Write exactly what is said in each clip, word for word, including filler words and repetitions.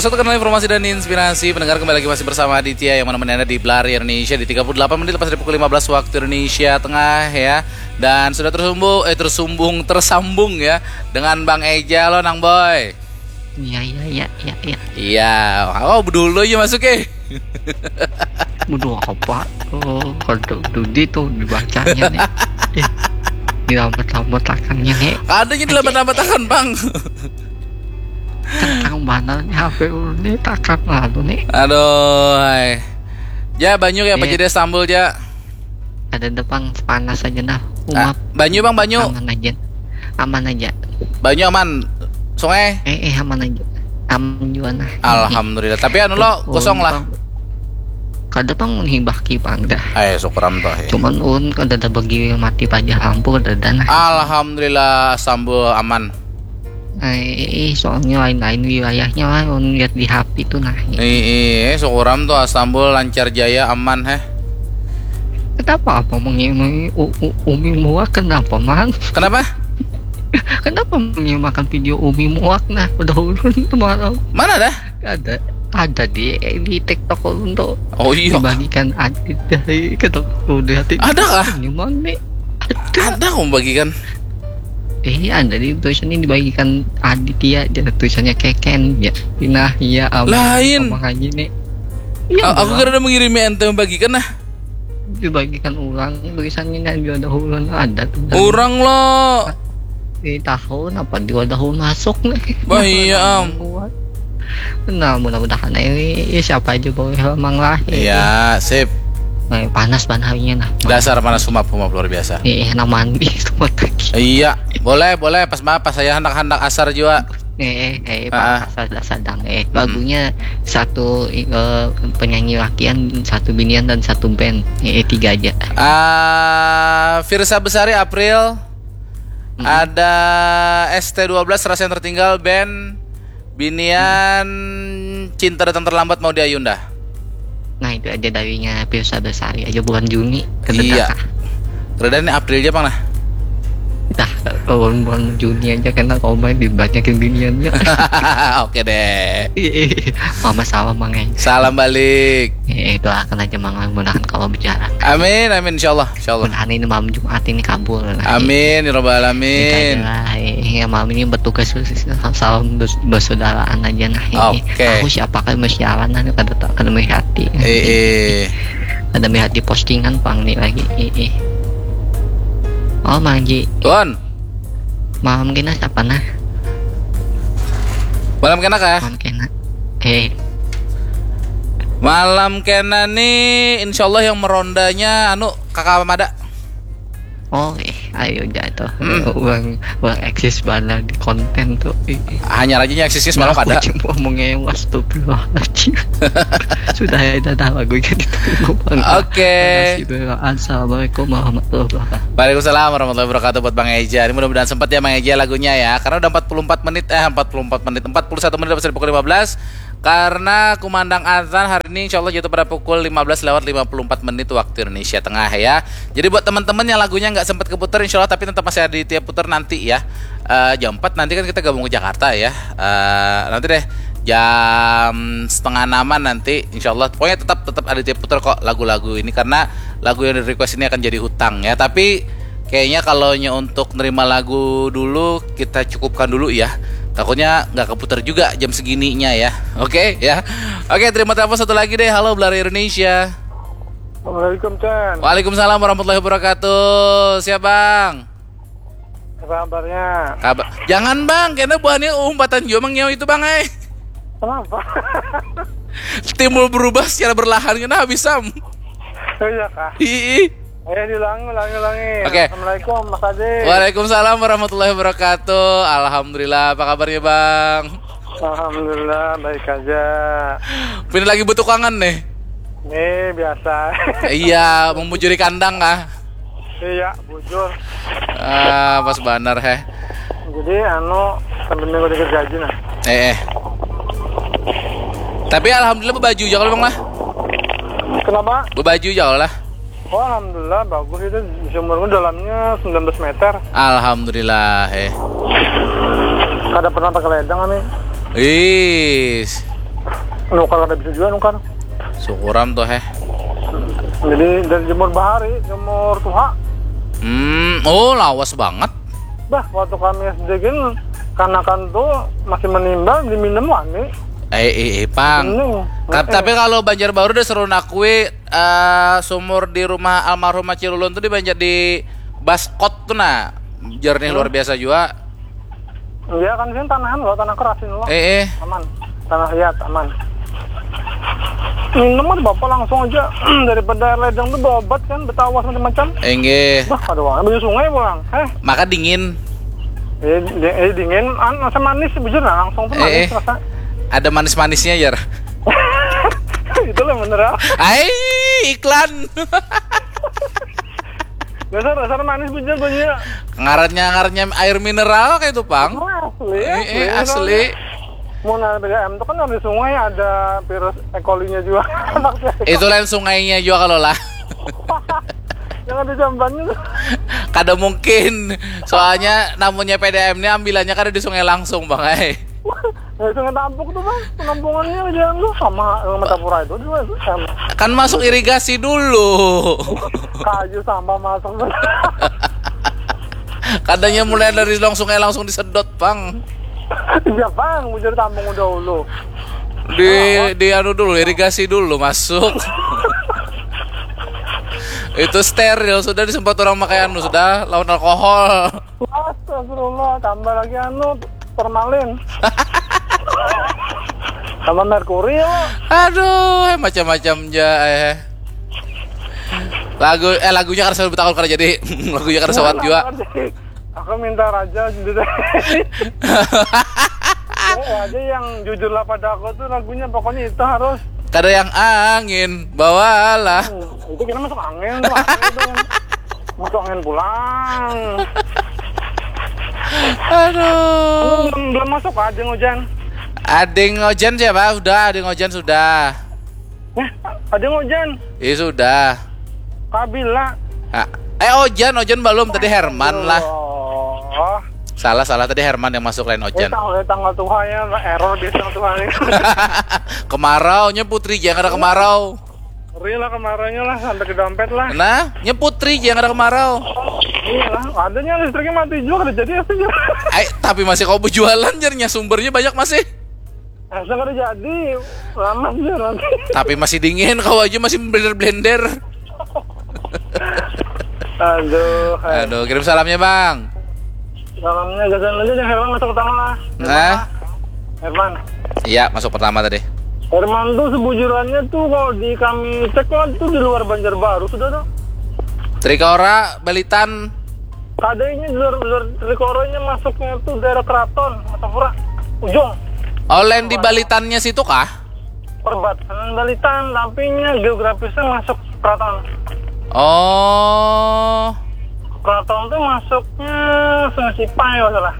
Satu kanal informasi dan inspirasi. Pendengar, kembali lagi masih bersama Aditya yang menemani Anda di Belari Indonesia di tiga puluh delapan menit lepas dari pukul lima belas waktu Indonesia Tengah, ya. Dan sudah tersambung, eh tersumbung, tersambung, ya, dengan Bang Eja. Lo, Nang Boy. Iya, iya, iya, iya, iya. Iya, oh, dulu aja masuk, eh. Bodoh apa? Oh, kalau dudi tuh dibacanya nih. Eh, dilambat-lambatakannya nih. Ada yang dilambat-lambatakan, Bang. Tentang mana nih H P ulun nih, takkan lalu nih. Aduh, hai. Ja, banyu ya, apa Iya. Jadi Istanbul, Ja? Ada depan, panas aja nah. Ah, Umap banyu, Bang, banyu. Aman aja. Aman aja. Banyu aman. Sungai? Eh, eh, aman aja. Aman juga nah. Alhamdulillah. Tapi anu lo, Oh, kosong lah. Bang. Kada, Bang, menghibaki, Bang, dah. Ayo, syukuran tuh, ya. Cuman ulun kada ada bagi mati paja lampu, kada ada nah. Alhamdulillah, Istanbul aman. Eh, eh, soalnya lain-lain wilayahnya lah, ulun lihat di H P itu nah. Ih, ih, syukuran tuh, Istanbul lancar jaya, aman, heh. Kenapa apa mengi-, mengi-, u-, u-, Umi Muak, kenapa, Mang? Kenapa? Kenapa mengimakan video Umi Muak nah? Udah ulun semalam. Mana dah? Ada, ada di, di TikTok ulun tuh. Oh, iya. Dibagikan adit dari, kata udah hati. Ada kah? Ini, Mang, nih. Ada kau bagikan? Eh, ada di tulisannya dibagikan Aditya, dia tulisannya Keken, ya. Nah, iya, Am-, Lain. Amang Haji nih. Iya, A- aku Bang. Kada ada mengirimi ente membagikan, nah. Dibagikan ulang tulisannya, nah, dia ada ulang, ada tuh. Orang lo. Di tahun apa, dua tahun masuk nih. Bah, iya, Am. Kuat. Nah, mudah-mudahan ini, ya, siapa aja boleh, Mang, lah. Iya, sip. Nah, panas banget harinya nah. Dasar panas, humap, humap luar biasa. Eh, enak mandi semua lagi. Iya, boleh, boleh, pas maaf, pas saya hendak-hendak asar juga. Eh, eh, eh, Ah. Pak, sadang, sadang. Eh, lagunya satu, eh, penyanyi lakian, satu binian, dan satu band. Eh, eh, tiga aja. Ah, Firsa Besari, April. Mm-mm. Ada S T dua belas, Rasa Yang Tertinggal, band. Binian, Cinta Datang Terlambat, Maudy Ayunda. Nah, itu aja darinya Firsa Besari aja, bulan Juni. Kada Iya. datang. Rada nih, April aja, Bang, nah. Dah, bulan, bulan Juni aja kena komen dibanyakin biniannya. Oke deh. Iya, iya. Mama salam, Mang, eh. Salam balik. Eh, doakan aja, Mang, mudahan kalau bicara. Amin, amin, insyaallah, insyaallah. Mudahan ini malam Jumat ini kabul lah. Amin ya rabbal Ini alamin. aja lah, eh, ya, malam ini bertugas, salam bers- bersaudaraan aja nah. Eh, Oke. Aku siapa kan mesti awan nah, kada tahu, kada melihat hati. Eh, eh. Kada melihat di postingan, Bang, nih lagi. Eh, eh. Oh, Mang Ji, Tuan, malam kena siapa nah? malam kena kah? Malam kena. Eh, Malam kena nih, insyaallah yang merondanya anu, Kakak Mada. Oh, eh, ayo jatuh. Hmm. Uang, uang eksis bana di konten tuh. Ih, ih. Hanya aja yang eksisnya semalam Aku ada. Cuma mau ngewas tuh, astagfirullahaladzim. Sudah ya, dadah, lagu yang ditunggu, Bang. Oke. Makasih, Bang. Assalamualaikum warahmatullahi wabarakatuh. Waalaikumsalam warahmatullahi wabarakatuh buat Bang Eja. Ini mudah-mudahan sempat ya Bang Eja lagunya ya. Karena udah empat puluh empat menit, eh, empat puluh empat menit, empat puluh satu menit lepas dari pukul lima belas. Karena kumandang azan hari ini, insyaallah jatuh pada pukul lima belas lewat lima puluh empat menit waktu Indonesia Tengah ya. Jadi buat teman-teman yang lagunya nggak sempat keputar, insyaallah, tapi tetap masih ada di tiap putar nanti ya. Eh, jam empat nanti kan kita gabung ke Jakarta ya. Eh, nanti deh jam setengah enaman nanti, insyaallah. Pokoknya tetap, tetap ada di tiap putar kok lagu-lagu ini, karena lagu yang di request ini akan jadi hutang ya. Tapi kayaknya kalau nya untuk nerima lagu dulu, kita cukupkan dulu ya. Takutnya nggak keputar juga jam segininya ya. Oke ya. Oke, terima telepon satu lagi deh. Halo, Belari Indonesia. Assalamualaikum, Chan. Waalaikumsalam warahmatullahi wabarakatuh. Siap, Bang? Apa kabarnya? Kabar. Jangan, Bang, karena buahnya umpatan jua, Mang, nyawa itu, Bang, eh. Kenapa? Timbul berubah secara berlahan, kena habis, Sam. Oh, iya kah? Ih. Ayo diulangi, ulangi, ulangi. Oke. Assalamualaikum, Mas Adi. Waalaikumsalam warahmatullahi wabarakatuh. Alhamdulillah, apa kabarnya, Bang? Alhamdulillah, baik aja. Pina lagi butuh kangen nih. Nih, biasa. Iya, memujuri kandang kah? Iya, bujur. Ah, pas banar, heh. Jadi, anu, sambil minggu dikit gaji nah. Eh, eh. Tapi alhamdulillah bebaju aja kalau, Bang, lah. Kenapa? Bebaju aja kalau lah. Oh, alhamdulillah, bagus itu. Di sumurku dalamnya sembilan belas meter. Alhamdulillah, eh. Kada pernah pakai ledang kami. Ih. Nukar kada bisa juga nukar. Syukuram tuh heh. Jadi dari jemur bahari, jemur tuha. Hmm, oh lawas banget. Bah, waktu kami S D kan kanakan tuh masih menimbal, diminum wani. Eh, eh, eh pang. Bening. Ta- Tapi kalau Banjarbaru udah seru nakui eh, sumur di rumah almarhum Acil Ulun tuh di Banjar di Baskot tuh nah. Jernih luar biasa juga. Iya kan sini tanahan loh, tanah keras ini loh. Eh, eh. Aman. Tanah liat aman. Minum aja bapak langsung aja daripada air ledeng tuh berobat kan, betawas macam-macam. Enggih. Bah, ada uangnya banyu sungai pulang. Eh, Maka dingin. eh, di- eh, dingin, an rasa manis bujur nah langsung tuh manis Eh, eh. Rasa. Ada manis-manisnya jar. Itulah bener ah. Ai iklan. Dasar dasar manis bujur banyu. Ngarannya ngarannya air mineral kayak itu pang. Wah, asli. Eh, eh, Bener. Asli. Mau nang B D M tuh kan di sungai ada virus E. coli-nya juga. Maksudnya, Itu lain sungainya juga kalau lah. yang ada jambannya tuh. Kada mungkin. Soalnya namanya P D M ini ambilannya kada di sungai langsung bang. Eh. Ya, sungai Tampuk tuh bang, penampungannya aja lu sama yang Martapura itu juga itu sama. Kan masuk irigasi dulu. Kayu sampah masuk. Kadanya mulai dari long sungai langsung disedot bang. Iya bang, bujur tampung dahulu. Di di anu dulu irigasi dulu masuk. Itu steril sudah disemprot orang pakai anu sudah lawan alkohol. Astagfirullah, tambah lagi anu formalin. Tambah merkuri ya. Aduh, macam-macam ja eh. Lagu eh lagunya kan selalu bertakun karena jadi lagunya kan sawat juga. Aku minta raja gitu deh. Oh, aja yang jujurlah pada aku tuh lagunya pokoknya itu harus. Kada yang angin bawalah. Hmm, itu kita masuk angin tuh. Angin itu yang masuk angin pulang. Aduh. Belum, belum masuk aja hujan. Ading Ojan siapa? Sudah, Ading Ojan sudah. Nah, ada hujan. Iya sudah. Kabila. Ah, eh Ojan, Ojan belum tadi Herman lah. Oh. Salah salah tadi Herman yang masuk lain Eh, Ojan. tanggal, eh, tanggal Tuhan ya, error biasa tanggal Tuhan ini. Kemarau nya putri jangan ada kemarau. Ngeri lah kemarinnya lah, sampai ke dompet lah. Nah, nya putri jangan ada kemarau. Iya lah, adanya listriknya mati juga, ada jadi apa sih? Eh, tapi masih kau berjualan jarnya sumbernya banyak masih. Asa kada jadi, lama sih nanti. Tapi masih dingin kau aja masih blender-blender. Aduh, hai. Aduh, kirim salamnya bang. Salamnya gasan aja yang Herman masuk pertama lah. Nah, Herman. Iya masuk pertama tadi. Herman tuh sebujurannya tuh kalau di kami cek lah tuh di luar Banjarbaru sudah tuh. Trikora, Balitan. Kada ini di luar, luar Trikoranya masuknya tuh daerah Keraton, Martapura, ujung. Oh, lain di Balitannya situ kah? Perbatasan Balitan, tapi nya geografisnya masuk Keraton. Oh, Keraton tuh masuknya Sungai Sipai kalau salah.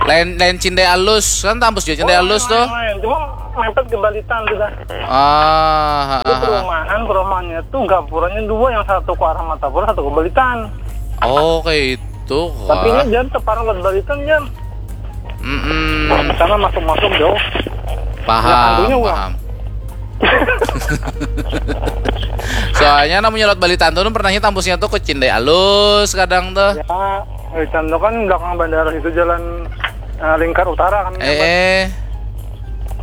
lain lain Cindai Alus kan tampus juga Cindai Alus tuh. Lain, cuma mepet ke Balitan sudah. Ah, Itu ah, ah. perumahan, perumahannya tuh gapuranya dua, yang satu ke arah Martapura, satu ke Balitan. Oh, kayak itu. Tapi Wah. Ini jangan teparang ke Balitan jangan. Mm-mm. Karena masuk-masuk jauh. Paham, Ya, tentunya, Bang. Paham. Soalnya namanya lewat Balitan tuh pernahnya tampusnya tuh ke Cindai Alus kadang tuh. Ya, Balitan tuh kan belakang bandara itu jalan eh, lingkar utara kan. Eh, eh.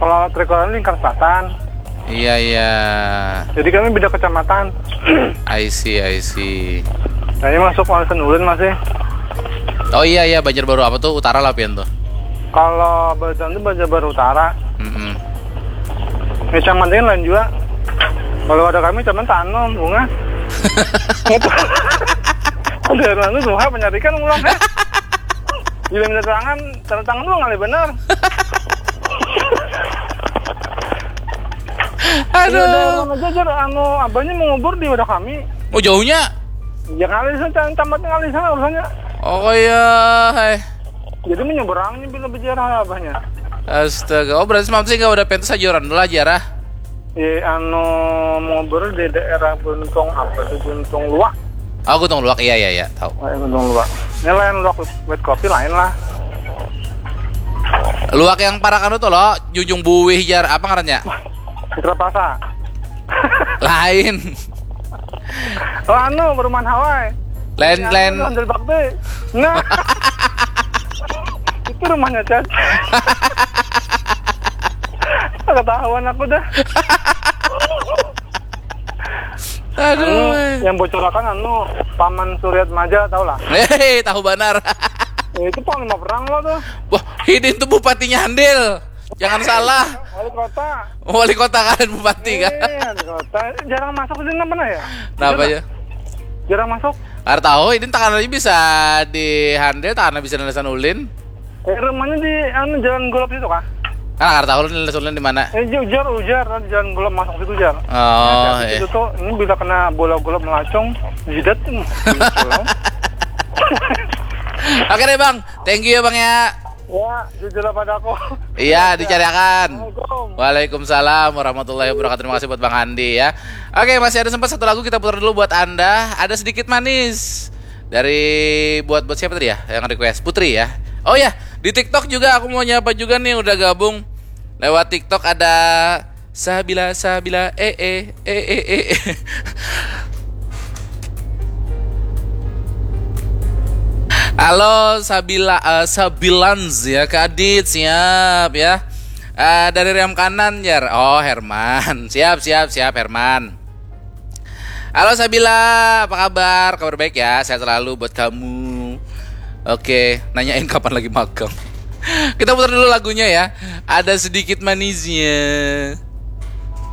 Kalau Trikoran lingkar selatan. Iya iya. Jadi kami beda kecamatan. I see, I see. Kayaknya masuk Warisan Ulun masih. Oh iya iya, Banjarbaru apa tuh? Utara lah pian tuh. Kalau Balitan tuh Banjarbaru Utara. Mm-mm. Kecamatan lain juga. Kalau ada kami cuman tanam bunga. Ada orang tuh tuh penyarikan ulang kan. Bila minta tangan, tanda tangan tuh ngalih benar. Iya, Aduh. ada aja jar, anu abahnya mau ngubur di wadah kami. Oh jauhnya. Ya ngalih sana, camatnya ngalih sana urusannya. Oh iya, hai. Jadi menyeberangnya bila berjarah abahnya. Astaga, oh berarti semalam sih nggak ada pentas aja orang dulu aja lah. Ya anu mau ngubur di daerah Buntung apa tuh Buntung Luak. Oh, Gunung Luak, iya iya iya, tahu. Eh, Buntung Luak. Ini lain Luak wet kopi lain lah. Luak yang parak anu tuh lo, Junjung Buwih jar apa ngarannya? Citra Plaza. Lain. Oh, anu, perumahan Hawaii. Lain, lain. Handil Bakti. Nah. Itu rumahnya Chat. Ketahuan aku dah. Aduh. Anu, yang bocorakan anu, Paman Suryat Maja, tau lah. Hei, tahu benar. Ya, itu panglima perang lo tuh. Wah, hidin tuh bupatinya Handil. Jangan salah. Wali kota. Wali kota kalian bupati kan? Iya, wali kota. Jarang masuk sih, kenapa ya? Kenapa ya? Jarang masuk. Kada tahu, ini takkan aja bisa di Handil, takkan bisa nalasan ulin. Eh, rumahnya di anu, Jalan Golop situ kah? Kan kada tahu ulin nalasan ulin di mana. Eh, ujar, ujar, kan Jalan Golop masuk situ, jar. Oh, Hati-hati iya. Itu tuh, ini bila kena bola golop melacung, jidat. Hmm, pulang. Oke deh, Bang. Thank you ya, Bang, ya. Ya, jujurlah padaku. Iya, dicariakan. Assalamualaikum. Waalaikumsalam warahmatullahi wabarakatuh. Terima kasih buat Bang Andi ya. Oke, masih ada sempat satu lagu, kita putar dulu buat Anda. Ada Sedikit Manis dari buat buat siapa tadi ya yang request? Putri ya. Oh ya, di TikTok juga aku mau nyapa juga nih, udah gabung lewat TikTok. Ada Sabila, Sabila, eh eh eh eh eh. Halo Sabila, eh, Sabilans ya, Kak Adit, siap ya. Eh, dari rem kanan, jar. Oh, Herman. Siap, siap, siap, Herman. Halo Sabila, apa kabar? Kabar baik ya, sehat selalu buat kamu. Oke, nanyain kapan lagi magang. Kita putar dulu lagunya ya. Ada Sedikit Manisnya.